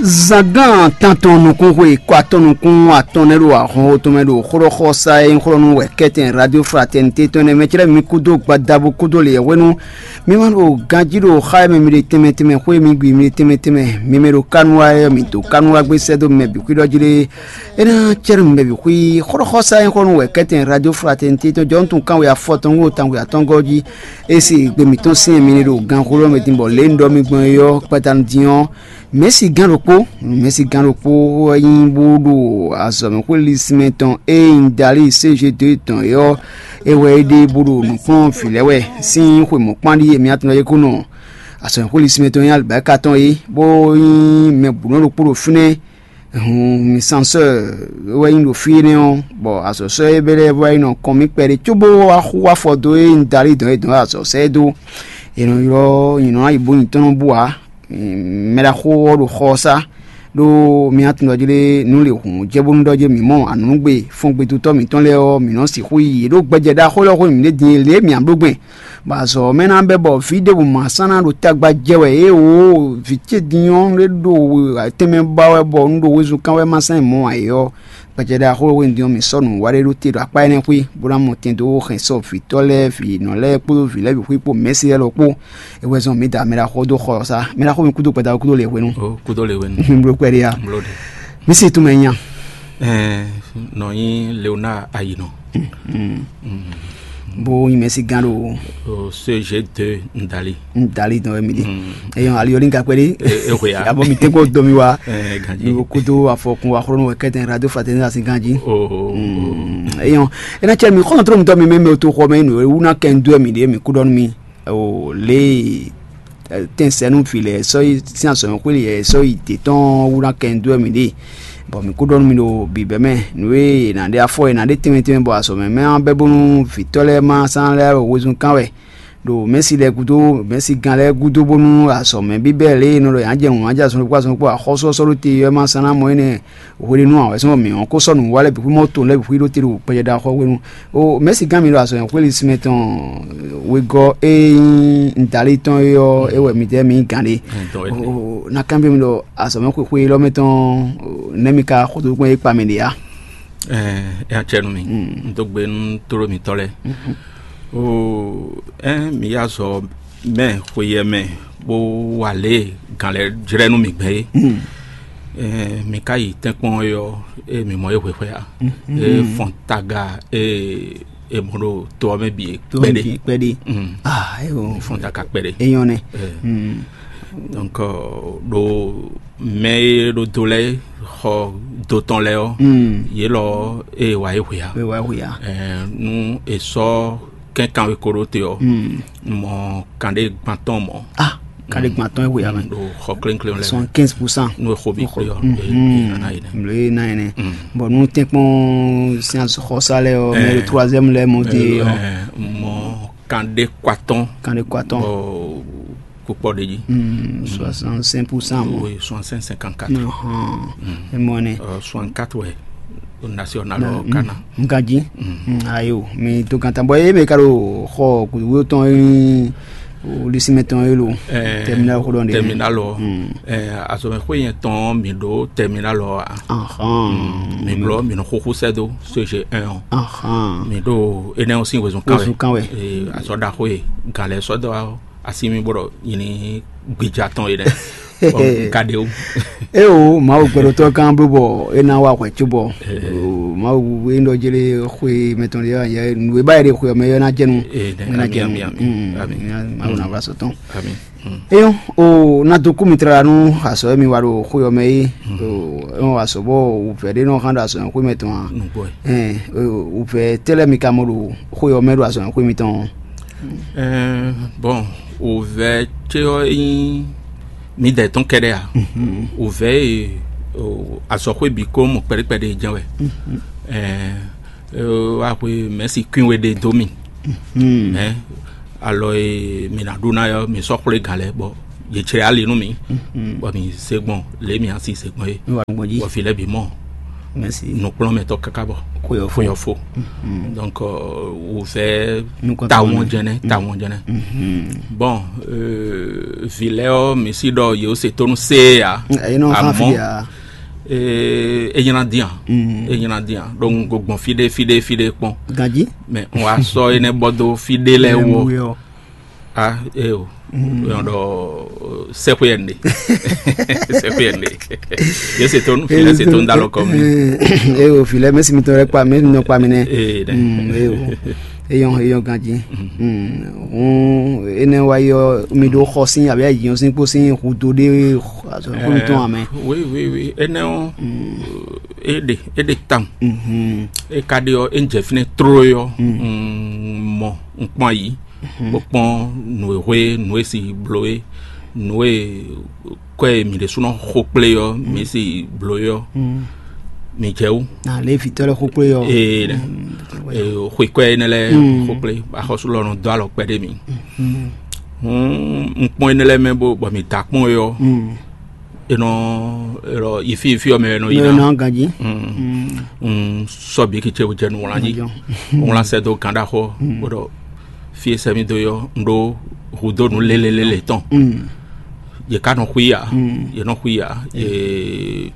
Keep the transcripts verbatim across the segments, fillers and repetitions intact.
Zangán tantɔn nukún xwe kɔ atɔn nukún atɔn nɛ́ ɖo ahɔnxó tɔn mɛ ɖo xlɔ́xɔsá e nyí xlɔ́ nú wɛ kɛ́tɛn Radio Fraternité tɔn nɛ́ mɛ clɛ́ mi kúdó gbadabo kúdó lě hwenu. Mi ma ɖo ganjí ɖo xá e mɛ mi ɖe tɛnmɛ tɛnmɛ xwé mi gbi mi ɖe tɛnmɛ tɛnmɛ mi mɛ ɖo kánú wa ɔ́, mi dǒ kánú wa gbé sɛ́ dó mɛ bǐ xwí ɖɔ jí ɖé. É ná cɛ́ nú mɛ bǐ xwí xlɔ́xɔsá e nyí xlɔ́ nú wɛ kɛ́tɛn Radio Fraternité tɔn jɔ́ nú tunwun kanwe afɔtɔn wú tangwe atɔ́ngɔ́ jí. E se gbe mǐtɔn sín mɛ ɖo ganxoló mɛ din bɔ lě un ɖɔ mi gbɔn é ɔ́, kpata din ɔ́, mɛ̌si gán ɖokpó, mɛ̌si gán ɖokpó wɛ nyí bó ɖo azɔ̌mɛxwé lísínmɛ tɔn e nyí Dali C G deux tɔn é ɔ́, é wɛ é ɖe bó ɖo nǔkplɔ́n vǐ lɛ́ɛ wɛ sín xwe mɔ̌kpán ɖíe mǐ atɔn e kó nɔ azɔ̌mɛxwé lísínmɛ tɔn nyí alibáka tɔn é, bó nyí mɛ bǔ nɔ ɖokpó ɖo fínɛ́. Hun mi sansɔ́ wɛ nyí ɖo fí énɛ́ ɔ́, bɔ azɔ̌sɔ́ e bɛ́ lɛ́ɛ vɔ yi nɔ kɔn mì kpɛɖé cóbó wá xú afɔ dó e un dali dɔn e dɔn azɔ̌sɔ́ ɛ dó. È nɔ ylɔ́ nyǐnɔ ayǐbóyǐntɔ́ nɔ bú ǎ. Mɛ ɖaxó ɔ́ ɖo xɔ ɔ́ sá, ɖó mi atundɔjí ɖé nú lě hǔn jɛ bónú ɖɔ jɛ mǐ mɔ anǔnugbe fɔngbedotɔ́ mǐtɔn lɛ́ɛ ɔ́, mǐ nɔ sixú yi yě ɖó gbɛjɛ ɖaxó lɛ́ɛ xwé mǐ ɖe din e lě e mǐ ǎ bló gbɛn. Bɔ azɔ̌ mɛ ná bɛ́ bɔ vǐ ɖěbǔ ma sán ná ɖo tagba jɛ wɛ é o, vǐ ce din ɔ́ ɖé ɖo tɛnmɛ ba wɛ bɔ un ɖo wezun kán wɛ ma sán mɔ ǎ é ɔ́, gbɛjɛ ɖaxó e hwenu din ɔ́ mǐ sɔ́ nǔ wa ɖé ɖó te ɖo akpá énɛ́ xwé, bó ná mɔ tɛn dó hɛn sɔ́ vǐtɔ́ lɛ́ɛ, vǐnɔ lɛ́ɛ kpódó vǐ lɛ́ɛ bǐ xwé kpó mɛ̌si lɛ́ɛ lɔ kpó. É wɛ zɔn mǐ da mɛ ɖaxó dó xɔ ɔ́ sá. Mɛ ɖaxó mi kúdó gbɛda kúdó lě hwenu. Ó kúdó lě hwenu. Bló kpɛɖé ya. Bló ɖe. Mǐ si tunmɛ nya. Ɛɛ, nɔ nyi Leonard Ayinɔ. Bó nyi mɛ̌si gán ɖo. O C G deux Ndali. Ndali dɔn wɛ mi ɖe. Eyɔn ali ɔli ka kpɛɖe. E hwe ya. Abɔ mi tɛgbɔ dɔ mi wa. Ɛɛ, ganji. Mi ko kúdó afɔkun wa xlɔnu wɛ kɛtɛn radio fraternité asi ganji. O. Eyɔn ena cɛ mi xɔnɔ trɔ mi tɔ mi mɛ mi o to xɔ mɛ nu ewu na kɛ ndu mi ɖe mi kú dɔn mi. O le tɛnsɛnu fi lɛ sɔ yi sin azɔn xweli yɛ sɔ yi te tɔn wu na kɛ ndu mi ɖe. Bɔn mi kú dɔn mi ɖo bibɛ mɛ nu e na ɖe afɔ e na ɖe tɛmɛ tɛmɛ bɔ azɔn mɛ mɛ bɛ bónú vitɔ lɛ ma san lɛ wezun kan wɛ. Ɖo mɛsi lɛ gúdo mɛsi gan lɛ gúdo bónú azɔn mɛ bíbɛ lɛ e nɔ ɖɔ yǎ jɛ nǔ ma jɛ azɔn ɖokpó azɔn ɖokpó axɔ́súxɔ́sú ɖo te ɔ́ ma san ná mɔ énɛ́. Hwenu awɛ̌sɔ́ mǐ ɔ́ ko sɔ́ nǔ wa lɛ́ɛ bǐ xwí mɔ to lɛ́ɛ bǐ xwí ɖó te ɖo kpɛjɛɖaxɔ hwenu. O mɛ̌si gán mi ɖo azɔ̌ nyɔ̌xwé lísímɛ tɔn wegɔ́ e nyí Ntalí tɔn é ɔ́, é wɛ midɛɛ mi nyí gǎn ɖe. Ná kanbyɔ́ mi ɖɔ azɔ̌ mɛ xwexwe élɔ́ mɛ tɔn nɛ́ mi ka xo dó kpɔ́n é kpa mɛ ɖe ǎ? Ɛ ɛ acɛ nú mi. Un dó gbe nú tlóló mitɔ́ lɛ́ɛ. O ɛ mi yá zɔ mɛ xweyɛ mɛ bó wa lě e gǎn lɛ́ɛ jlɛ́ nú mi gbɛn é. Ɛ mi ka yi tɛ́nkpɔ́n é ɔ́, é mi mɔ é hwexwɛ ǎ. É fɔn taga é é mɔ ɖo to ɔ́ mɛ bǐ é kpɛɖé. Kpɛɖé. Mm. Ah, ayo. Fɔn taga kpɛɖé. Eyɔn nɛ. Ɛ. Mm. Donc ɖo mɛ e ɖo do lɛ́ɛ xɔ do tɔn lɛ́ɛ ɔ́, yě lɔ é wa é hwe ǎ. É wa é hwe ǎ. Ɛ, nú è sɔ́ kɛ́nkan e ko ɖó te ɔ́, mɔ kanɖé gban tɔn mɔ. Ah, kanɖé gban tɔn é hwe ǎ mɛ. Ɖo xɔ klénklen lɛ́ɛ. Soixante-quinze pour cent. Nú è xo bí kplé ɔ́, é ná yi nɛ. Mlě ná yi nɛ. Bɔn nú tɛ́nkpɔ́n sín xɔsá lɛ́ɛ ɔ́, mɛ ɖo troisième lɛ́ɛ mɔ dé ɔ́. Mɔ kanɖé kɔ atɔn. Kanɖé kɔ atɔn. Kpɔkpɔ ɖe jí. Soixante-cinq pour cent mɔ. Oui, soixante-cinq cinquante-quatre. Emɔ nɛ. Soixante-quatre wɛ national ɔ kana. Nka jí. Ayo mi to kan tan bɔ eye mi ka ɖo xɔ kudukudu tɔn yi lisimɛ tɔn yi lo. Terminal xo dɔn de. Terminal ɔ. Azɔmɛ xo yɛn tɔn mi ɖo terminal ɔ. Mi blɔ mi nɔ xoxo sɛ do C G un ɔ. Mi ɖo enɛ ɔ sin wezun kan wɛ. Wezun kan wɛ. Azɔ ɖaxo ye gan lɛ sɔ dɔ asi mi bɔ ɖɔ nyini gbija tɔn yi dɛ. Ka ɖe o. Eo mawu gbɛɖotɔ kan bló bɔ e na wa hwɛ tso bɔ mawu e nɔ jele xwe mɛtɔn de yɛ nu e ba yɛ de xwe mɛ yɔ na jɛnu. Ee, na ami jɛnu ami ami ami. Mawu na va sɔtɔn. Ami. Eyɔn o na do kú mi tra nu asɔ mi wa ɖo xwe mɛ yi. Eyɔn asɔ bɔ wuvɛ ɖe nɔ hã ɖo asɔ xwe mɛ tɔn a. Nugbo. Ɛn wuvɛ tɛlɛ mi ka mɔ ɖo xwe mɛ ɖo asɔ xwe mi tɔn. Ɛɛ bɔn ovɛ ce ɔ nyi mi dɛ tɔn kɛɖɛ a? Ovɛ e azɔxwe bi ko mɔ kpɛɖekpɛɖe jɛn wɛ. Ɛɛ wa xwe mɛsi kwin we ɖe do mi. Mɛ alɔ e mi na ɖu na yɔ mi sɔ xwle gan lɛ bɔ yetsrɛ ali nu mi. Bɔ mi se gbɔn le mi asi se gbɔn ye. Bɔ fi lɛ bi mɔ. Mɛsi. Nukplɔ́nmɛtɔ́ káká bɔ xwe ɔ́ fó. Donc wǔvɛ́ tawɔn jɛnɛ, tawɔn jɛnɛ. Bon, vǐ lɛ́ɛ ɔ́, mi sí ɖɔ yě se tónú séé ǎ. Amɔ̌ é nyla dín ǎ. É nyla dín ǎ. Donc go gbɔn fí ɖé fí ɖé fí ɖé kpɔ́n. Ganjí. Mais un wá sɔ́ énɛ́ bɔ dó fí ɖé lɛ́ɛ wɔ. Ah, é o. Yɔn ɖɔ sɛxweyɛnde. Sɛxweyɛnde. Yé se tónú, fi lɛ se tónú dá lɔ kɔ mi. É o, fi lɛ mɛsi mitɔn lɛ kpa mi nɔ kpa mi nɛ. Ee dɛ. Mm, é o. Eyɔn eyɔn ganji. Mm, hɔn énɛ́ wá yɔ mi ɖó xɔ sín abǐ ayǐyɔn sín kpó sín hudo ɖé azɔ̌ kpó mitɔn amɛ. Oui, oui, oui. Énɛ́ ɔ́, é ɖe é ɖe tam. É ka ɖe ɔ́, é ń jɛ fínɛ́ tló yɔ. Mm, mɔ un kpɔn ayǐ. Bó kpɔ́n nǔ e hwe nǔ e si bló é, nǔ e kɔ e mǐ ɖésúnɔ xo kplé ɔ́, mǐ si bló é ɔ́, mǐ jɛ wú. Na lě vitɔ́ lɛ́ɛ xo kplé ɔ́. Ee, ee, xwe kɔ énɛ́ lɛ́ɛ xo kplé, axɔ́sú lɔ nɔ dó alɔ kpɛɖé mǐ. Hǔn un kpɔ́n énɛ́ lɛ́ɛ mɛ bó bɔ mǐ da kpɔ́n é ɔ́, è nɔ, è nɔ yi fí yi fí ɔ́ mɛ è nɔ yi ná. Nɔ ganjí. Un sɔ́ bǐ kí ce jɛ nǔwlán jí. Wlán sɛ́ dó gǎn ɖaxó, bó ɖɔ fí e sɛ́ mì dó yɔ un ɖó hudó nǔ lélelélé tɔn. Yě ká nɔ xwí ǎ. Yě nɔ xwí ǎ. Yě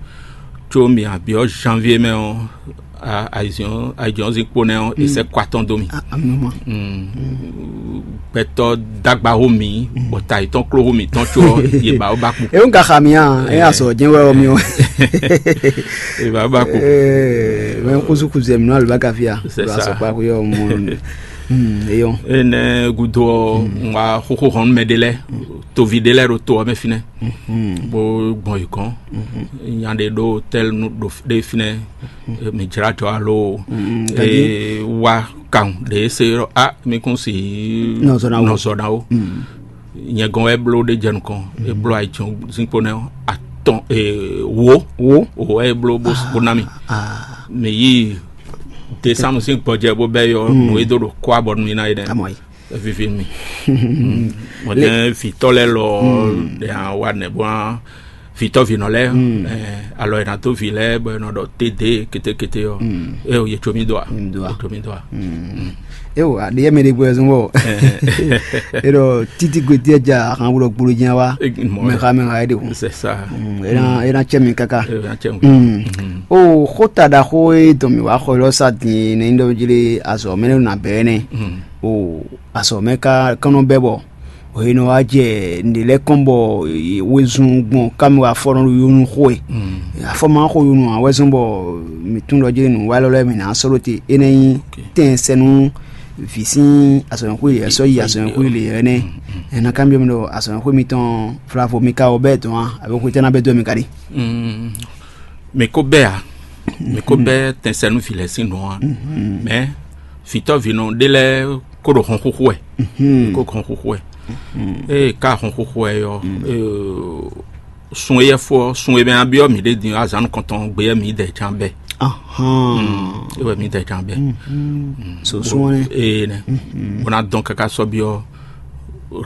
có mi abyɔ́ janvier mɛ ɔ́, ayizɔn ayizɔn zikpo nɛ ɔ́, è sɛ́ kɔ atɔn dó mì. Gbɛtɔ́ dagba hó mi, bɔ ta yětɔn kló hó mǐtɔn có ɔ́, yě ba ó ba kú. E ŋu ka xa mi a e azɔ jɛn wɛ ɔ mi o. Yě ba ó ba kú. Mɛ kusu kusu ɛmɛ nɔ alibaka fia. C'est ça. Asɔkpa kuyɔ mɔ. Eyɔn. Ene gudo ɔ, ŋwa xoxo hɔn mɛ ɖe lɛ, tovi ɖe lɛ ɖo to ɔmɛ finɛ. Bó gbɔn yi kɔn. Nya ɖe ɖo tɛl nu ɖo ɖe finɛ. Mi dzra jɔ alo wa kan ɖe se a mi kún si nɔzɔ na wo. Nyɛ gɔn wɛ bló ɖe jɛ nukɔn. E bló ayi tɔn zinkpo nɛ atɔn wo wo wo wɛ e bló bó na mi. Mi yi décembre sín gbɔjɛ bó bɛ yɔ nù e dó ɖo kɔ abɔ nù yi na yi dɛ. Amɔ yi. Vivi mi. Mɔdɛ vitɔ lɛ lɔ ɖe wa nɛ bɔ vitɔ vinɔ lɛ alɔ yɛ na dó vi lɛ bɔ yɛ nɔ ɖɔ tede kete kete yɔ. E o ye tso mi do a. Tso mi do a. Ewo aɖe yɛ mɛ ɖe gbɔ ɛzɔn bɔ e ɖɔ titi gbeti ɛdza ahan wulɔ gbolo dzi wa mɛ xa mɛ xa e ɖe o. C'est ça. E na e na tsɛ mi kaka. E na tsɛ mi. O xota ɖaxo e dɔn mi wa xɔ lɔ sa din ne ŋdɔ jeli azɔ mɛ ne na bɛ ne. O azɔ mɛ ka kɔnɔ bɛ bɔ o ye nɔ wa jɛ ne lɛ kɔn bɔ wezun gbɔn kami wa fɔ nɔ yonu xo e. Afɔ ma xo yonu a wɛzɔn bɔ mi tún lɔ jeli nu wa lɔ lɛ mi na sɔlo te e ne nyi tɛn sɛnu vi sín azɔnxwé yɛ sɔ yi azɔnxwé le yɛ nɛ. Ɛna kan biɔ mi ɖɔ azɔnxwé mitɔn flavo mi ka wɔ bɛ dɔn a abe xwetɛ na bɛ dɔ mi ka ɖi. Mi ko bɛ a mi ko bɛ tɛnsɛnu vi lɛ sín nɔ a mɛ vitɔ vinɔ ɖe lɛ ko ɖo hɔn xuxu ɛ ko hɔn xuxu ɛ ee ka hɔn xuxu ɛ yɔ sun eyɛ fɔ sun e mɛ abiɔ mi ɖe din azan kɔntɔn gbe yɛ mi dɛ can bɛ. Ewɛ mi dɛ can bɛ. So sun ɛ ee nɛ bona dɔn kaka sɔbiɔ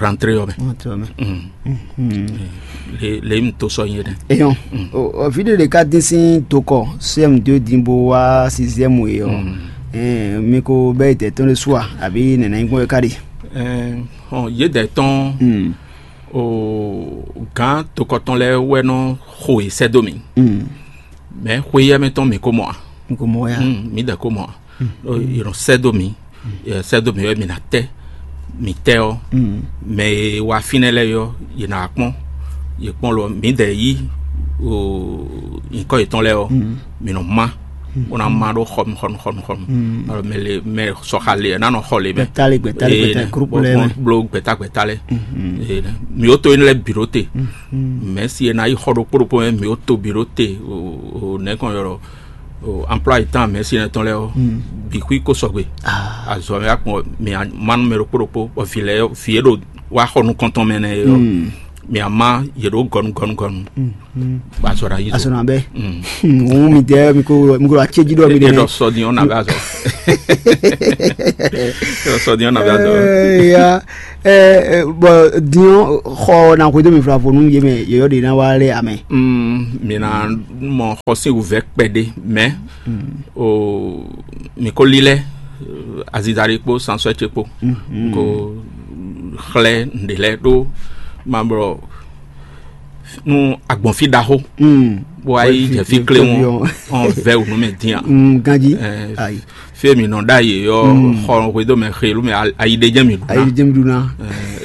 rentrée yɔ mɛ. Le mi to sɔ nyi ɖe. Eyɔn o video de ka dín sín dokɔ cm deux dín bó wá sixième e ɔ mi ko bɛ tɛ tɔn de sua àbí nɛnɛ nyí gbɔn ka di. Yé dɛ tɔn o gán tokɔtɔn lɛ wɛ nɔ xo yi sɛ dó mi. Mɛ xweyɛmɛ tɔn mi ko mɔ a. N ko mɔ ya. Mi dɛ ko mɔ a. Yɔrɔ sɛ dó mi sɛ dó mi wɛ mi na tɛ mi tɛ ɔ mɛ e wa fínɛ lɛ yɔ yě na kpɔn yě kpɔn lɔ mi dɛ yí o nyikɔ yětɔn lɛ ɔ mi nɔ ma. Wọ́n á má ɖó xɔnu xɔnu xɔnu xɔnu. Alo mɛ le mɛ sɔxa le ɛ nanɔ xɔ le mɛ. Gbɛta le gbɛta le gbɛta groupe lɛ mɛ. Blo gbɛta gbɛta lɛ. Mi o to yin lɛ bi ɖo te. Mɛ si ɛ na yi xɔ ɖo kpó ɖokpó mɛ mi o to bi ɖo te o nɛ kɔn yɔrɔ o emploi temps mɛ si ɛ tɔn lɛ o bi kui ko sɔgbe. Azɔ mɛ akpɔ mi ma nu mɛ ɖo kpó ɖokpó bɔ vi lɛ vi e ɖo wa xɔ nukɔntɔn mɛ nɛ yɔ. Mi a ma yě ɖo gɔnu gɔnu gɔnu. Ba sɔ ɖa yi. Azɔ na bɛ. Ŋun mi dɛ mi ko mi ko acéji ɖɔ mi ɖe. Ɖɔ sɔ diɲɔ na bɛ azɔ. Ɖɔ sɔ diɲɔ na bɛ azɔ. Ya Ɛ, ɛ, bɔ din ɔ́, xɔ ná hwedó mi flavonu yé mɛ yɔyɔ ɖe ná wá lɛ amɛ. Mm, mi ná mɔ xɔ sín wǔvɛ́ kpɛɖé mɛ o, mi ko lílɛ́ aziza ɖé kpó sansɔ́ ce kpó ko xlɛ́ nǔɖé lɛ́ɛ ɖó mablɔ nú agbɔ̌nfí ɖaxó bó wá yi jɛ fí kléwɔn ɔn vɛ wǔ nú mɛ dín a. Ganjí. Ayi. Fí e mǐ nɔ ɖ'ayǐ ɔ́, xɔ hwedó mɛ xelu mɛ ayi ɖé jɛ́n mǐ ɖu ná. Ayi jɛ́n mi ɖu ná.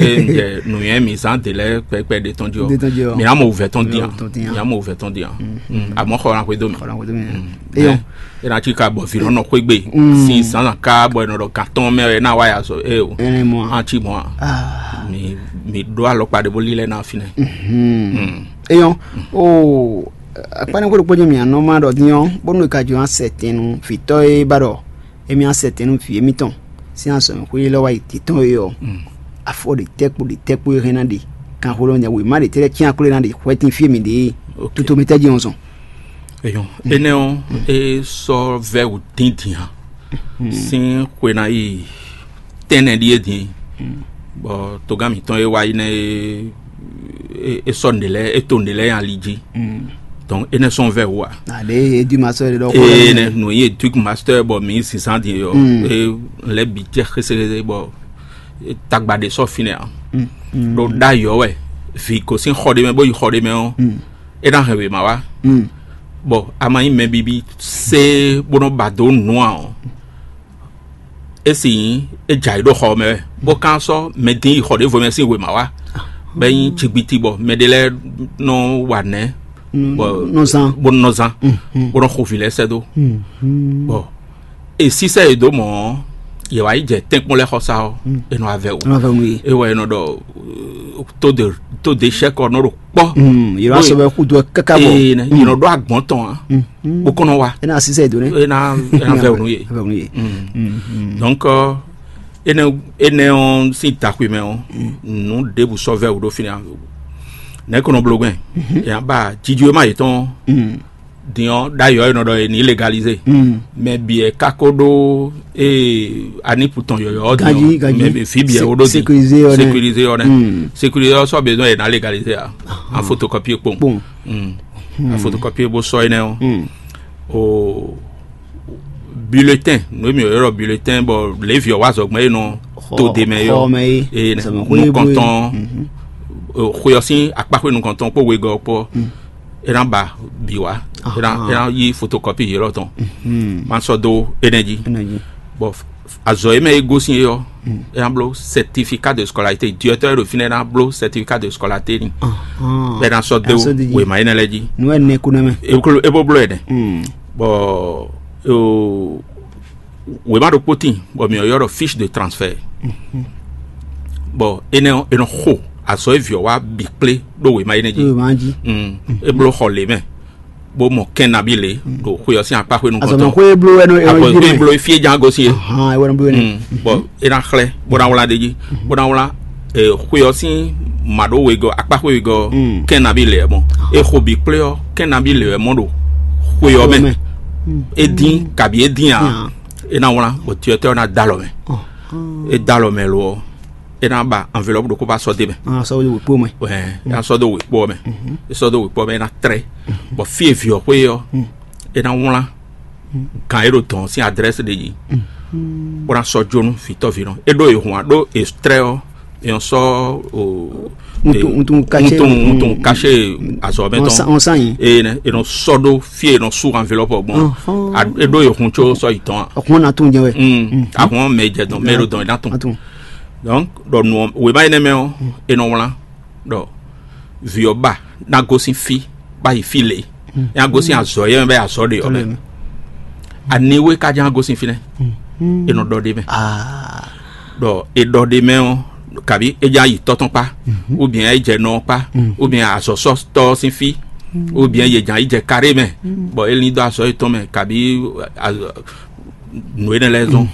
Eye un jɛ nǔnywɛ́ mǐ zán dě lɛ́ɛ kpɛkpɛ ɖé tɔn jí ɔ́, Ɖé tɔn jí ɔ́. Mǐ ná mɔ wǔvɛ́ tɔn dín a. Mǐ ná mɔ wúvɛ́ tɔn dín a. Mǐ ná mɔ wǔvɛ́ tɔn dín a. Xɔ ná hwedó mɛ. Eyɔn. É ná cí ka bɔ vǐ nɔ nɔ xwé gbe sín zǎnzǎn ká bɔ è nɔ ɖɔ gǎn tɔn mɛ wɛ é ná wá ya zɔ é o. Ɛnɛ mɔ a. Á cí mɔ a. Mi mi ɖó alɔkpa ɖé bó lílɛ́ ná fínɛ́. Eyɔn. O akpánɛ́ xwé ɖokpó jɛ mǐ anɔ má ɖɔ dín ɔ́, bónú è ka jɔ asɛ tɛn nú vǐtɔ́ e ba ɖɔ émí asɛ tɛn nú vǐ émítɔn sín azɔ̌mɛxwé élɔ́ wá yi títɔn é ɔ́, afɔ ɖe tɛ́ kpo ɖe tɛ́ kpo e hɛn ná ɖe kanxoló nya wěma ɖe tɛ́ lɛ́ɛ cyán akló e ná ɖe hwɛtín fí e mǐ ɖe é. Tutomɛ tɛ́ jí ɔ́ zɔn. Eyɔn, énɛ́ ɔ́, é sɔ́ vɛ́ wǔ díndín ǎ. Sín xwe ná yi tɛ́nnɛ ɖíe din, bɔ togán mǐtɔn e wá yi nɛ́ é é sɔ́ nǔɖé lɛ́ɛ é to nǔɖé lɛ́ɛ nyi ali jí. Donc énɛ́ sɔ́ vɛ́ wǔ ǎ. Aɖe edu master ɖe ɖɔ xó ee lɛ nɛ nǔ nyi éduc master bɔ mǐ zǐnzán din ɔ́, é lɛ́ bǐ jɛ xéséxésé bɔ tagba ɖé sɔ́ fínɛ́ ǎ. Ɖo ɖ'ayǐ ɔ́ wɛ vǐ gosín xɔ ɖé mɛ bó yi xɔ ɖé mɛ ɔ́, é ná hɛn wěma wá. Bɔ a ma nyí mɛ bibi sé bó nɔ́ ba dó nǔ ǎ ɔ́, é sì nyí é jɛ ayǐ ɖo xɔ ɔ́ mɛ wɛ, bó ka sɔ́ mɛ dín yi xɔ ɖěvo mɛ sín wěma wá, bɔ é nyí jigbiti bɔ mɛ ɖé lɛ́ɛ nɔ wa nɛ̌ bɔ nɔ zán. Bó nɔ zán, bó nɔ xo vǐ lɛ́ɛ sɛ́ dó. Bɔ è sísɛ́ yě dó mɔ̌ ɔ́, yě wá yi jɛ tɛ́nkpɔ́n lɛ́ɛ xɔ sá ɔ́, è nɔ wá vɛ wǔ. Nɔ vɛ wǔ yé. É wɛ è nɔ ɖɔ tó de tó de sɛ́kɔ nɔ ɖo kpɔ́. Yě wá sɔ́ bɛ xúdo ɛ káká bɔ. Ee, yě nɔ ɖó agbɔ̌n tɔn ǎ, bó kɔn nɔ wá. É ná sísɛ dó nɛ. É ná é ná vɛ wǔ nú yě. Vɛ wǔ nú yě. Donc énɛ́ énɛ́ ɔ́ sín taxwe mɛ ɔ́, nǔ ɖěbǔ sɔ́ vɛ wǔ ɖó fínɛ́. Nɛ̌ kɔn nɔ bló gbɛn? Yě ná ba jijwéma yětɔn. Din ɔ́, ɖ'ayǐ ɔ́, è nɔ ɖɔ è nǐ legalize. Mɛ bǐ wɛ ka ko ɖó ee anipu tɔn yɔ̌yɔ́ ɔ́ din Ganjí, ɔ́, ganjí. Mɛ bǐ fí bǐ wɛ Sé- wo ɖó din. Sécurisé ɔ́ nɛ́. Sécurisé ɔ́ nɛ́. Sécurisé ɔ́ sɔ́ besoin è nǎ legalize a. A photocopie kpowun. Kpowun. A photocopie bó sɔ́ énɛ́ ɔ́. O bulletin, nǔ e mǐ ylɔ́ bulletin bɔ lěvi ɔ́ wá zɔgbɛ́n e nɔ to ɖe mɛ é ɔ́. Xɔ mɛ é. Ee, Azɔ̌mɛ xwé nukɔntɔn, xwe ɔ́ sín akpáxwé nukɔntɔn kpó wegɔ́ kpó. É ná ba bǐ wá. É ná é ná yí photocopie yě lɔ tɔn. Ma sɔ́ dó énɛ́ jí. Bɔ azɔ̌ e mɛ é gosín é ɔ́, é ná bló certificat de scolarité, directeur ɖo fínɛ́ ná bló certificat de scolarité ni. Bɔ é ná sɔ́ dó wěma énɛ́ lɛ́ɛ jí. Nú ɛ nɛ kú nɛ mɛ. É bó bló ɛ nɛ. Bɔ wěma ɖokpó tíin bɔ mǐ ylɔ́ ɖɔ fiche de transfert. Bɔ énɛ́ ɔ́, è nɔ xo azɔ̌ e vǐ ɔ́ wá bǐ kplé ɖó wěma énɛ́ jí. Wěma jí. É bló xɔ lě mɛ, bó mɔ kɛ́n nabí lě ɖo xwe ɔ́ sín akpáxwé nukɔntɔn. Azɔ̌mɛxwé bló wɛ nɔ Axɔ jí xwé mɛ. Bló fí e ján gosín é. Hàn, é wɛ nɔ bló wɛ nɛ. Bɔ é ná xlɛ́ bó ná wlá ɖ'é jí, bó ná wlá xwe ɔ́ sín mǎɖówegɔ́ akpáxwé wegɔ́ kɛ́n nabí lě wɛ mɔ. É xo bǐ kplé ɔ́, kɛ́n nabí lě wɛ mɔ ɖo xwe ɔ́ mɛ. É dín kabi é dín ǎ. É ná wlán bɔ tiyɔtɔ́ ɔ́ ná dó alɔ mɛ. É dó alɔ mɛ lo ɔ́, é ná ba enveloppe ɖokpó ba sɔ́ d'é mɛ. Sɔ́ dó wěkpó mɛ. Wɛ é ná sɔ́ dó wěkpó ɔ́ mɛ. É sɔ́ dó wěkpó ɔ́ mɛ é ná trɛ́. Bɔ fí e vǐ ɔ́ xwé ɔ́, é ná wlán gǎn e ɖo dɔ̌n ɔ́ sín adrɛ́si ɖe jí, bó ná sɔ́ jó nú vǐtɔ́vǐnɔ. É ɖó è hun ǎ, ɖó è trɛ́ ɔ́, è nɔ sɔ́ o Wuntun- wuntun kacé- wuntun- wuntun kacé azɔ̌ mɛ tɔn. Ɔn sá- ɔn sá yín. Eye nɛ è nɔ sɔ́ ɖó fí e è nɔ sú enveloppe gbɔn. Ɔhɔn. A- é ɖó è hun có sɔ́ yi tɔn a. Ɔkùnrin náà tún jẹ wɛ. Mm. Ahun mɛ jɛ dɔn mɛ ɖo dɔn é ná tún. Atún. Donc ɖɔ nù wěma énɛ́ mɛ ɔ́, è nɔ wlán ɖɔ vǐ ɔ́ ba ná gosín fí bá yi fí lě. É ná gosín azɔ̌ yɛ mɛ bá yi azɔ̌ ɖe ɔ́ mɛ. Aniwe ka ján gosín fínɛ́? È nɔ ɖɔ ɖ'é mɛ. Ɖɔ è ɖɔ ɖ'é mɛ ɔ́, kabi é ján yi tɔ́ tɔn kpá, ou bien é jɛ nɔ ɔ́ kpá, ou bien azɔ̌sɔ́tɔ́ ɔ́ sín fí, ou bien yě ján yi jɛ karé mɛ, bɔ é lín dó azɔ̌ yětɔn mɛ, kabi nǔ énɛ́ lɛ́ɛ zɔn.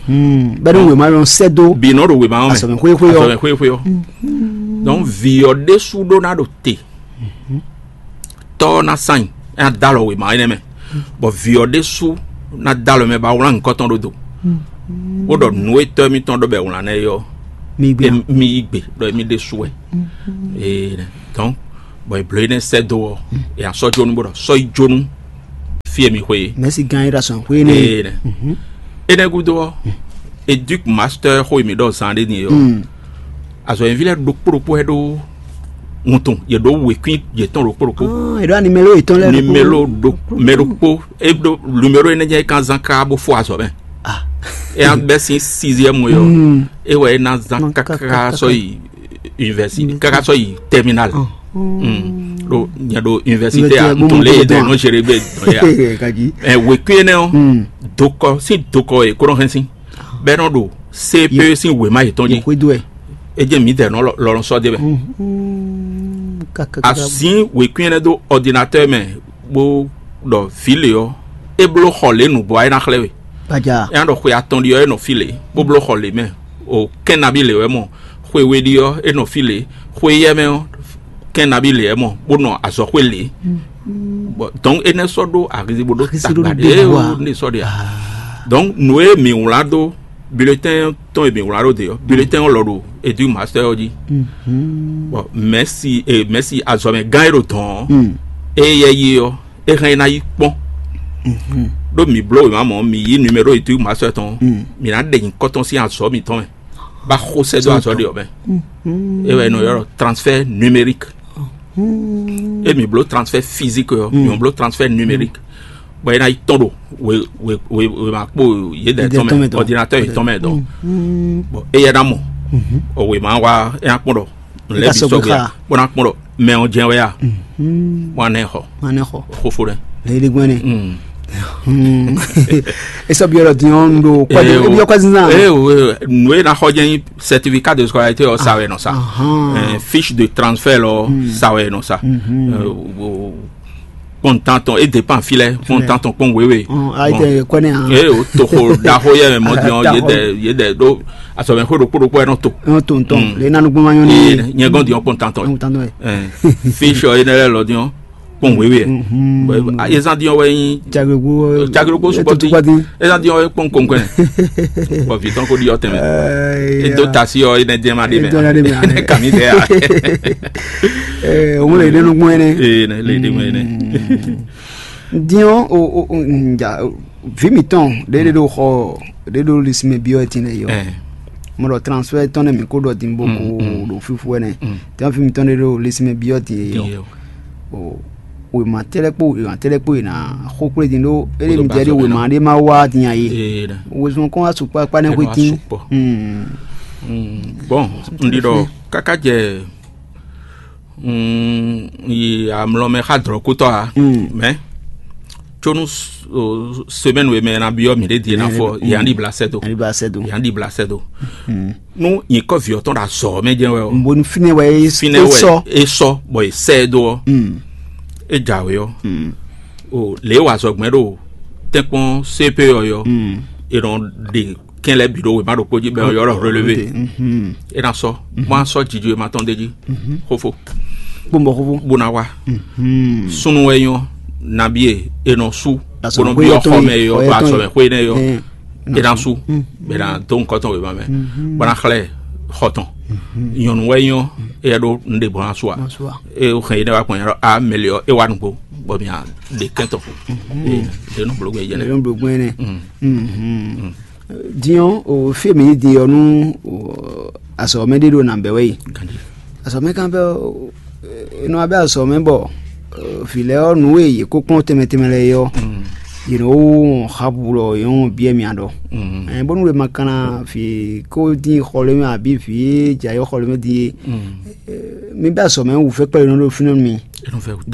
Bɛ́ ní wěma lɔ sɛ́ dó. Bǐ nɔ ɖo wěma ɔ́ mɛ. Azɔ̌mɛ xwéxwé ɔ́. Azɔ̌mɛ xwéxwé ɔ́. Donc vǐ ɔ́ ɖésú ɖó ná ɖo te. Tɔ́ ɔ́ ná sán nyi, é ná dó alɔ wěma énɛ́ mɛ, bɔ vǐ ɔ́ ɖésú ná dó alɔ mɛ bó ná wlán nyǐkɔ tɔn ɖó do, bó ɖɔ nǔ e tɔ́ émítɔn ɖɔ bɔ è wlán ná é ɔ́, Mi gbé. E mi yi gbe ɖɔ emi ɖe su wɛ. Ee, donc, bɔn eblo énɛ́ sɛ́ dó ɔ́, e asɔ́ jónú bó ɖɔ sɔ́ yi jónú fí e mi xwe é. Mɛ̌si gán é ɖo asɔn xwe énɛ́. Ee, énɛ́ gúdo ɔ́, educ master xó e mi ɖɔ zan ɖé din é ɔ́, azɔ̌ nyi ví lɛ́ɛ ɖokpó ɖokpó wɛ ɖó wuntun, yě ɖó wěkwín yětɔn ɖokpó ɖokpó. È ɖó animelo yětɔn lɛ́ɛ ɖokpó. Nimelo ɖo mɛ ɖokpó, e ɖo nimelo énɛ́ jɛ́n é kan zán ká bó fó azɔ̌ mɛ. É ná bɛ́ sín sixième yɔ, é wɛ é ná zán káká sɔ́ yi université, káká sɔ́ yi terminal. Ɖo nyɛ ɖo université a, ntɔn lé yɛ dɛ nɔ géré gbé dɔn yɛ. Ɛ wěkwín énɛ́ ɔ́, dokɔ sín dokɔ e kó nɔ hɛn sín bɛ́ nɔ ɖo C P E sín wěma yětɔn jí. Xwédo ɛ. É jẹ́ mǐdɛɛ nɔ lɔlɔn sɔ́ dé mɛ. Azǐn wěkwín énɛ́ dó ordinateur mɛ bó ɖɔ vǐ lě ɔ́, é bló xɔ lě nǔgbó ɔ́ é ná xlɛ́ we. Gbaja. É ná ɖɔ xwe atɔn ɖi ɔ́ é nɔ fí lě, bó bló xɔ lě mɛ. O kɛ́n nabí lě wɛ mɔ, xwe we ɖi ɔ́ é nɔ fí lě, xwe yɛ mɛ ɔ́ kɛ́n nabí lě wɛ mɔ, bó nɔ azɔ̌xwé lě. Bon, donc énɛ́ sɔ́ ɖó ahizibo ɖó tagba ɖé o ní sɔ́ ɖe a. Donc nǔ e mǐ wlán dó bulletin tɔn e mǐ wlán ɖó de ɔ́, bulletin ɔ́ lɔ ɖo edu master ɔ́ jí. Bon, mɛsi e mɛsi azɔmɛ gán e ɖo dɔn ɔ́, e yɛ yi ɔ́, é hɛn é ná yi kpɔ́n. Ɖó mǐ bló wěma mɔ̌, mǐ yí numéro edu master tɔn, mǐ ná ɖe nyǐkɔ tɔn sín azɔ̌ mǐtɔn mɛ, bá xó sɛ́ dó azɔ̌ ɖe ɔ́ mɛ. É wɛ è nɔ ylɔ́ ɖɔ transfert numérique. É mǐ bló transfert physique ɔ́, mǐ bló transfert numérique. Bɔ é ná yi tɔn ɖo we we we wema kpo yědɛɛ tɔn mɛ, ordinateur yětɔn mɛ dɔn. Bɔn éyɛ́ ná mɔ, ɔ wema wa é ná kpɔn ɖɔ nǔ lɛ́ɛ bǐ sɔgbe, bó ná kpɔn ɖɔ mɛ ɔ́ jɛ́n wɛ a. Bó ná ɛ xɔ. Bó ná ɛ xɔ. Xófó ɖɛ. Leyéɖégbɔn ne. É sɔ byɔ́ ɖɔ din ɔ́, un ɖo kɔdé é byɔ́ kɔdé zan. Ee o, nǔ e ná xɔ jɛ́n nyí certificat de scolarité ɔ́ sa wɛ nɔ sa. Fiche de transfert ɔ́ sa wɛ nɔ sa. Kpɔn tantɔn, e dépend fi lɛ, kpɔn tantɔn, kpɔn wewe. Ayi tɛ kɔnɛ hàn. Ee o toxo ɖaxó yɛ mɛ mɔ diɔn yedɛ yedɛ ɖo asɔmɛ xó ɖokpó ɖokpó yɛ nɔ to. Nɔ to ntɔn le nanu gbɔn ma nyɔ ni. Nyɛ gɔn diɔn kpɔn tantɔn. Kpɔn tantɔn yɛ. Fiche ɔ́ enɛ lɛ lɔ diɔn kpɔn wewe yɛ. Ezan diɔn wɛ nyi. Jaglegbo. Jaglegbo sukpɔti. Ezan diɔn wɛ kpɔn kɔnkɔn. Bɔn vitɔn ko diɔ tɛmɛ. Edo tasi ɔ enɛ diɛ ma de mɛ. Enɛ kami de ya. Òun lè ɖe nukpɔn ɛnɛ. Ee, ne le ɖe mɛ ne. Diɔn o o o nja vi mitɔn ɖe ɖe ɖo xɔ ɖe ɖo lisimɛ biɔ ti ne yɔ. Mo ɖɔ transfert tɔn ne mi ko ɖɔ din bo ko ɖo fifu ɛnɛ. Tɛn vi mitɔn ɖe ɖo lisimɛ biɔ ti yɔ. O wema tɛlɛ kpo wema tɛlɛ kpo yina xo kple din ɖo ele mi jɛ ɖi wema ɖe ma wa din ayi. Wezun kɔn wa sukpɔ akpa ne xwe tin. Bon, n ɖi ɖɔ kaka jɛ yi amlɔ mɛ xa dlɔkutɔ a. Mɛ tsonu semaine wɛ mɛ na biɔ mi ɖe die na fɔ yan ɖi bla sɛ do. Yan ɖi bla sɛ do. Yan ɖi bla sɛ do. Nu nyikɔ viɔ tɔn ɖo azɔ mɛ jɛ wɛ o. N bo ni finɛ wɛ e Finɛ wɛ sɔ. E sɔ bɔ e sɛ do ɔ. E jawe ɔ. O le wa azɔgbɛn ɖo tɛnkpɔn C P ɔ yɔ. E nɔ ɖe kɛn lɛ bi ɖo wema ɖokpo jí bɛ yɔ ɖɔ relevé. E na sɔ mo a sɔ dzidzɔ e ma tɔn de jí. Xofo. Gbɔnbɔ xoxo. Bo na wa. Sunu wɛ nyɔ nabi e e nɔ su. Bo nɔ biɔ xɔ mɛ yɔ ba sɔ mɛ xwe nɛ yɔ. E na su bɛ na do nkɔtɔn wema mɛ. Bo na xlɛ xɔtɔn. Nyɔnu wɛ nyɔ e yɛ ɖo n ɖe bɔ na su a. E o xɛn yi ne wa kpɔn yɛrɛ a mɛli ɔ e wa nugbo bɔ mi a ɖe kɛntɔ. E de nɔ blo gbɛ yɛlɛ. Ɖe nɔ blo gbɛ yɛlɛ. Diɔ o fi mi di ɔ nu asɔ mɛ ɖe ɖo na bɛ wɛ yi. Asɔ mɛ kan bɛ enɔ abɛ asɔ mɛ bɔ filɛ ɔ nu e yě kó kplɔn tɛmɛ tɛmɛ lɛ yɔ yě nɔ wo xabu lɔ yɔn biɛ mia ɖɔ. Bónú wema kanna fi kó dín xɔlɛ mɛ àbí fi jayɔ xɔlɛ mɛ dín mi bɛ asɔ mɛ wù fẹ́ kpɛlɛ nɔ ɖo fínɛ mi.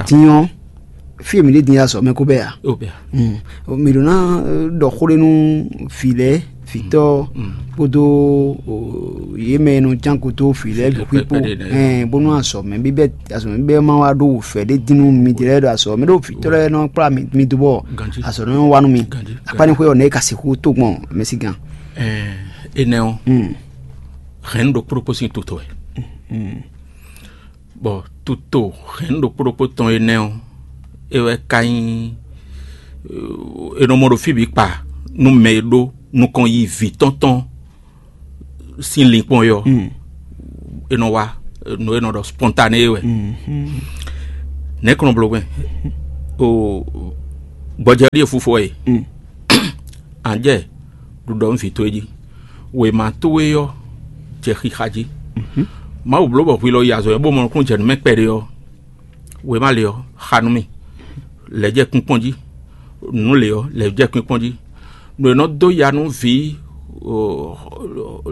Diɔ fi mi ɖe din ya sɔ mɛ ko bɛ ya. Mi ɖo na ɖɔ xó ɖe nu fi lɛ fitɔ kpódó yé mɛ nɔ can koto fi lɛ ɖo kpikpo bónú asɔ mɛ bí bɛ asɔ mɛ bí bɛ ma wa ɖo fɛ ɖe dinu mi di lɛ ɖo asɔ mɛ ɖo fitɔ lɛ nɔ kpla mi do bɔ asɔ nɔ wa nu mi akpani xwe ɔ ne ka si xó tó gbɔn mɛ si gan. Enɛ o hɛn ɖo kpóɖokpó sín tutɔ ɛ. Bɔ tuto hɛn ɖokpó ɖokpó tɔn énɛ́ ɔ́, é wɛ ka nyí é nɔ mɔ ɖo fí bǐ kpa nú mɛ e ɖó nukɔn yi vǐ tɔn tɔn sín linkpɔ́n yɔ, e nɔ wá, nǔ e nɔ ɖɔ spontané wɛ. Nɛ̌ kɔn bló gbɛn? O gbɔjɛ ɖíe fúfú wɛ e. Anjɛ ɖuɖɔ nú vǐ towe jí. Wěma towe ɔ́ jɛ xixa jí. Mawu bló bɔ hwi lɔ yi azɔ̌ bó mɔ nukúnnú jɛ nǔ mɛ kpɛɖé ɔ́, wěma lě ɔ́, xa nú mì. Lɛ̌ jɛ kpínkpɔ́n jí. Nǔ lě ɔ́, lɛ̌ jɛ kpínkpɔ́n jí. Nǔ e nɔ dó ya nú vǐ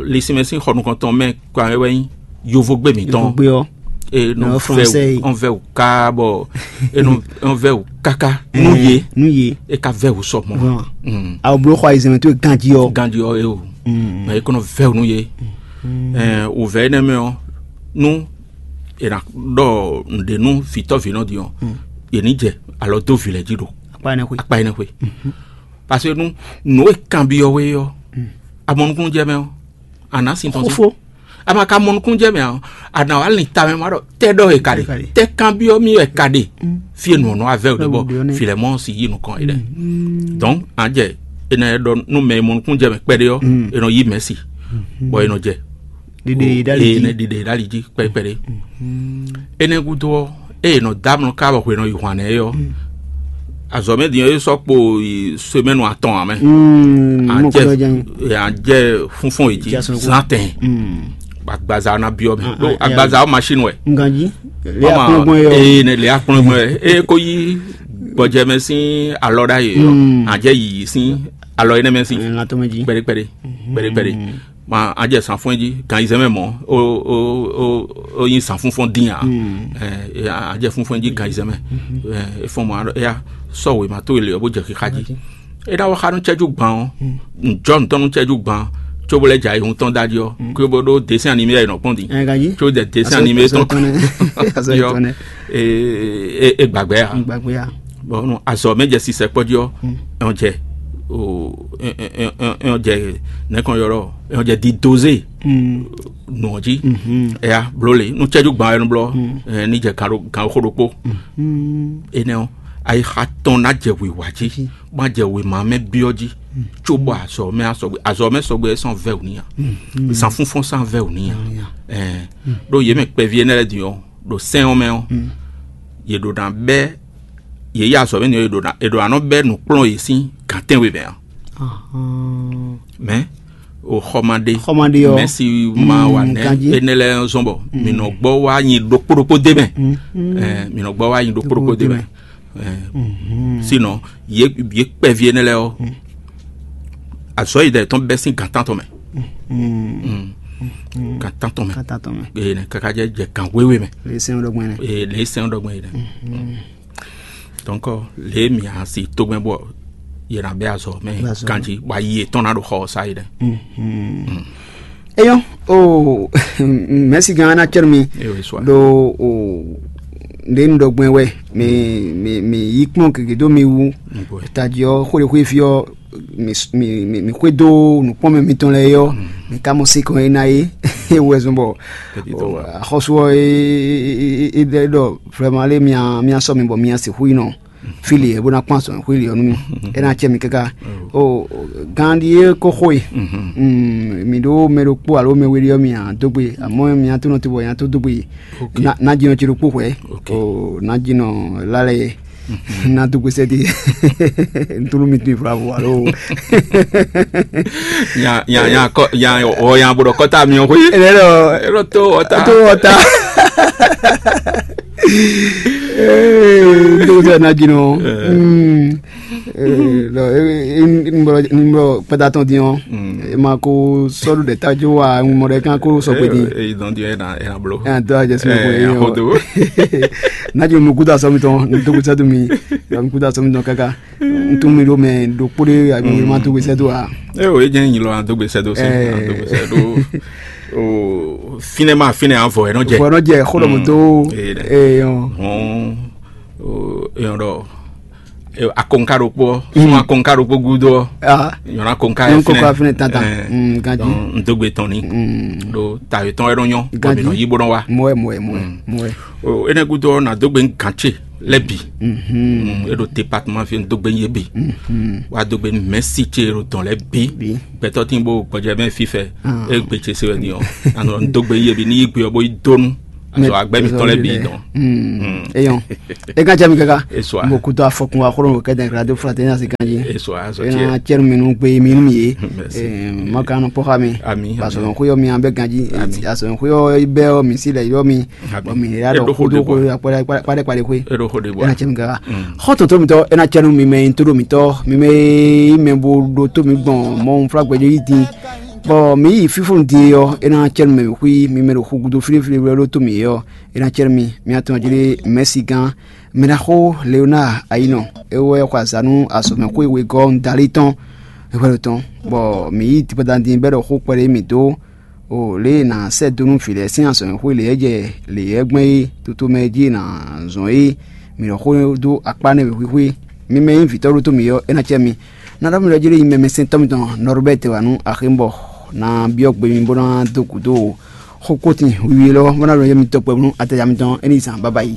lisinmɛ sín xɔ nukɔntɔn mɛ kpa wɛ nyí yovogbé mǐtɔn. Yovogbé ɔ́. E nɔ vɛ wǔ ɔn vɛ wǔ ká bɔ e nɔ vɛ wǔ káká nú yě. Nú yě. E ka vɛ wǔ sɔ mɔ. Awo bló xɔ ayizɛmɛ tó ganjí ɔ́. Ganjí ɔ́ e o. Mɛ e kɔnɔ vɛ wǔ nú yě. Wǔvɛ énɛ́ mɛ ɔ́, nú è nǎ ɖɔ nǔɖé nú vǐtɔ́vǐnɔ din ɔ́, yě ní jɛ alɔ dó vǐ lɛ́ɛ jí ɖo akpa énɛ́ xwé. Akpa énɛ́ xwé. Parce que nú nǔ e kanbyɔ́ we ɔ́, a mɔ nukúnnú jɛ mɛ ɔ́, a nǎ sin tɔn jí. Xófó. A ma ka mɔ nukúnnú jɛ mɛ ɔ́, a nǎ wá lin ta mɛ ma ɖɔ tɛ́ ɖɔ e ka ɖe. Tɛ́ kanbyɔ́ mì wɛ ka ɖe. Fí e nǔ ɔ́ nɔ wá vɛ́ wǔ ɖe bɔ Filɛmɔ́ɔ si yí nukɔn é ɖɛ. Donc a jɛ è nɔ ɖɔ nú mɛ e mɔ nukúnnú jɛ mɛ kpɛɖé ɔ́, è nɔ yí mɛ̌ si, bɔ è nɔ jɛ ɖiɖe yi ɖ'ali jí. Ɖiɖe yi ɖ'ali jí kpɛɖé kpɛɖé. Énɛ́ gúdo ɔ́, ée è nɔ dó amlɔ ká bɔ hwe nɔ yi hwan nɛ́ é ɔ́, azɔ̌ mɛ din ɔ́, é sɔ́ kpo yi semɛnu atɔn ǎ mɛ. Mɔ kɔ jɛ. Anjɛ fúnfún yě jí zán tɛn. Agbaza ɔ́ ná byɔ́ mɛ ɖó agbaza ɔ́ machine wɛ. Nganji. Lé akplɔ́ngbɔn yɔ. Ee ne lé akplɔ́ngbɔn yɛ eye ko yí gbɔjɛmɛ sín alɔ ɖ'ayǐ ɔ́, anjɛ yiyi sín alɔ énɛ́ mɛ sín. Latɔmɛ jí. Kpɛɖé kpɛɖé kpɛɖé kpɛɖé. Ma a jɛ sanfún jí gan yi zɛmɛ mɔ o o o o yin sanfún fɔn dín a. Ɛ a jɛ fúnfún jí gan yi zɛmɛ. Ɛ e fɔn mɔ a ɖɔ eya sɔ wěma tó le ɔ bó jɛ xixa jí. E ɖa wɔ xa nú cɛjú gban ɔ. Ŋjɔ ŋutɔn nú cɛjú gban. Cóbó lɛ dza yi hun tɔn da jí ɔ kó bó ɖó dessin animé yɛ nɔ kpɔn di. Ɛ ganyi. Tso dɛ dessin animé tɔn yɔ. E e e gbagbɛ ya. Gbàgbé ya. Bɔn azɔ mɛ jɛ sisɛ kpɔdzi ɔ. Ɛn jɛ o ɛn jɛ nɛkɔn yɔrɔ ɛn jɛ di doze. Nɔ jí. Ɛya bló le nú cɛjú gban ɛnu blɔ. Ní jɛ gan xó ɖokpó. Énɛ́ ɔ́ ayixa tɔn ná jɛ wǐwá jí má jɛ wěma mɛ byɔ́ jí. Cóbɔ azɔ mɛ asɔgbe azɔ mɛ sɔgbe ɛ sɔn vɛ́ wǔ níya. Zan fúnfún sán vɛ́ wǔ níya. Ɖó yě mɛ kpɛví énɛ́ lɛ́ɛ din ɔ́ ɖo sɛ́n ɔ́ mɛ ɔ́, yě ɖo ná bɛ́ yě yi azɔ̌ mɛ ni ɔ́, yě ɖo ná è ɖo ná nɔ bɛ́ nǔkplɔ́n yě sín gǎn tɛ́nwe mɛ ǎ. Mɛ o xɔmaɖe Xɔmaɖe ɔ́. Mɛsi ma wa nɛ ganjí. Énɛ́ lɛ́ɛ zɔn bɔ mǐ nɔ gbɔ wá nyi ɖokpó ɖokpó dé mɛ. Ɛ, mǐ nɔ gbɔ wá nyi ɖokpó ɖokpó dé mɛ. Ɛ, sinɔ yě yě kpɛví énɛ́ lɛ́ɛ ɔ́, azɔ̌ yi ɖɛ tɔn bɛ́ sín gǎn tántɔn mɛ. Gǎn tántɔn mɛ. Kata tɔn mɛ. Eye nɛ kaka jɛ jɛ gǎn wéwé mɛ. Lè sɛn ɖɔgbɛn nɛ. Eye lè sɛn ɖɔgbɛn yi nɛ. Donc lě e mǐ asi tógbɛ́n bɔ yě ná bɛ́ azɔ̌ mɛ ganjí bɔ ayi yětɔn ná ɖo xɔ ɔ́ sá yi ɖɛ. Eyɔn o mɛsi gan na cɛn mi. Ewe swa. Do o ɖe nu ɖɔgbɛn wɛ mi mi mi yi kpɔn gege do mi wu. Taji ɔ xwele xwe fi ɔ mi mi mi xwe do nukpɔn mɛ mitɔn lɛ yɔ mi ka mɔ se kɔn e na ye. Wɛ zɔn bɔ axɔsu ɔ e e e ɖɔ vraiment ale mia mia sɔ mi bɔ mia se hu yi nɔ. Fili ɛ bó ná kpɔ́n azɔ̌ xwé li ɔ́ nú mì. É ná acɛ mì káká. O gán ɖíe kó xó e. Mǐ ɖó mɛ ɖokpó alo mɛ we ɖé ɔ́, mì nya dó gbe, amɔ̌ mì nya tó nɔ te bɔ nya tó dó gbe. Ná jí nɔ ce ɖokpó hwɛ̌. O ná jí nɔ lálɛ yɛ. Ná dó gbe sɛ́ dé. Ntúnú mi tún ìfúra bò alo. Nya nya nya kɔ nya ɔ nya bó ɖɔ kɔta mi ɔ xwé. Ɛ lɔ Ɛ lɔ tó ɔta. Tó ɔta. Ee, ndo sɛ na dzi nɔ. Nbɔ kpɛta tɔn din ɔ, ma ko sɔdu ɖe ta jo wa ŋmɔ ɖe kan ko sɔgbe din. Eyi dɔn din ɛ na ɛ na blo. Ɛ dɔ ajɛ sɛ ko ɛ yɔ. Na dzi nukuta sɔmi tɔn, nukuta sɔmi tɔn, nukuta sɔmi tɔn kaka. Ntun mi ɖo mɛ ɖokpó ɖé agbègbè ma dógbe sɛ́ dó a. Ɛ o, e jẹ́ nyilɔ adógbe sɛ́ dó sɛ́ adógbe sɛ́ dó. O finɛ ma finɛ avɔ ɛ nɔ jɛ. Vɔ nɔ jɛ xó ɖɔ mo dó. Ee, ee, ɔn. Hɔn, o eyɔn ɖɔ akonka ɖokpó, sún akonka ɖokpó gúdo. Ah, nyɔna akonka yɔn kɔkɔ finɛ. Finɛ tata. Ganji. Ndógbe tɔn ni. Ɖo tayɔ tɔn ɛ nɔ nyɔ kɔmi nɔ yí bó nɔ wa. Mɔɛ mɔɛ mɔɛ mɔɛ. O enɛ gúdo na dógbe gantse. lɛ́ bǐ. Mm, e ɖo département fí dó gbe nyí é bǐ. Wá dó gbe nú mɛ̌si ce e ɖo dɔn lɛ́ bǐ. Gbɛtɔ́ tín bó gbɔjɛ mɛ fífɛ. E gbe ce se wɛ din ɔ́, anɔ dó gbe nyí é bǐ ní yí gbe ɔ́ bó yi dó nú azɔ agbɛ́ mitɔn lɛ́ bǐ dɔn. Eyɔn. E kan cɛ mi kaka. Esua. Mo kutu afɔkun wa xoro kɛ dɛn radio fraternité asi kan ji. Esua azɔ tiɛ. Ena cɛnu mi nu gbe mi nu mi ye. Merci. Maka nɔ pɔxa mi. Ami. Basɔn ko yɔ mi an bɛ ganji. Ami. Asɔn ko yɔ bɛ yɔ mi si lɛ yɔ mi. Ami. Bɔn mi ya dɔ kodo ko kpɛdɛ kpɛdɛ koe. E ɖo xo de bɔ. Ena cɛnu kaka. Xɔ tɔntɔ mi tɔ ena cɛnu mi mɛ yin to do mi tɔ mi mɛ yi mɛ bo do to mi gbɔn mɔ fla gbɛjɔ yi din. Bɔn mi yi fifo din yɔ ena cɛnu mɛ mi xui mi mɛ do xu gudo filifili wɛ do to mi yɔ. Ena cɛnu mi mi atɔn jili mɛsi gan. Mɛɖaxó Leonard Ayinɔ, é wɛ xɔ azǎn nú azɔ̌mɛxwé wegɔ́ Ndali tɔn, é hwɛ́ ɖo tɔn, bɔ mǐ yi Dipɔdandin bɛ́ ɖɔ xó kpɛɖé mǐ dó, o lě e è nǎ sɛ́ dó nú vǐ lɛ́ɛ sín azɔ̌mɛxwé lě e jɛ lě yɛ́ gbɛn é, toto mɛ jí è nǎ zɔn é, mǐ nɔ xó dó akpá nɛ́ wěxwíxwé. Mi mɛ nyí vǐtɔ́ ɖótó mǐ ɔ́, é ná cɛ mi. Ná ɖɔ mì ɖɔ jí lé nyí mɛmɛsɛntɔ́ mitɔn Nɔrubɛ́ti wǎ nú axémbɔ ná byɔ́ gbe mi bó ná dó gǔdo o. Xó kótin wiwi élɔ́ bó ná ɖo yɛ mitɔn kpɛvú nú ataja mitɔn é ní zan baba yi.